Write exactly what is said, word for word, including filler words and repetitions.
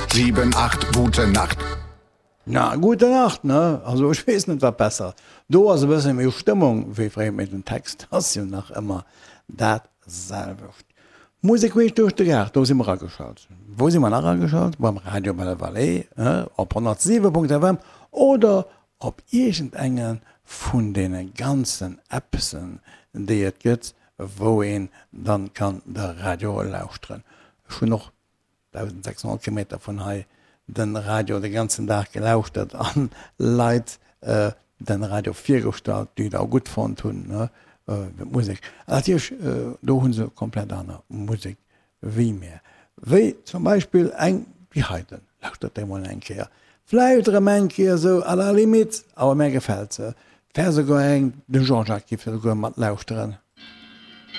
sechs, sieben, acht, gute Nacht. Na, gute Nacht, ne? Also ech weess net wat besser ass. Do ass e bësse méi Stëmmung wéi fréier, mee den Text ass jo nach ëmmer dat selwecht. Musek queesch duerch de Gaart, do si mer ageschalt. Wou si mer nach ageschalt? Beim Radio Belle Vallée op honnertsiwe Punkt F M oder op iergendenge vun deene ganzen Appsen, déi et gëtt, wou een dann kann de Radio lauschteren. Ech hunn och dausensechshonnert Kilometer vun hei den Radio de ganzen Dag gelauschtert an Leit den Radio virgestallt, déi et och gutt fonnt hunn, d'Musek. An natierlech, do hu se komplett aner Musek wéi mär. Wéi zum Beispill eng wéi heiten. Lauschtert déi mol eng Kéier. Vläicht erëm eng Kéier esou à la limite, awer mär gefält se. Wär souguer eng, de Jean-Jacques giff se souguer mat lauschteren.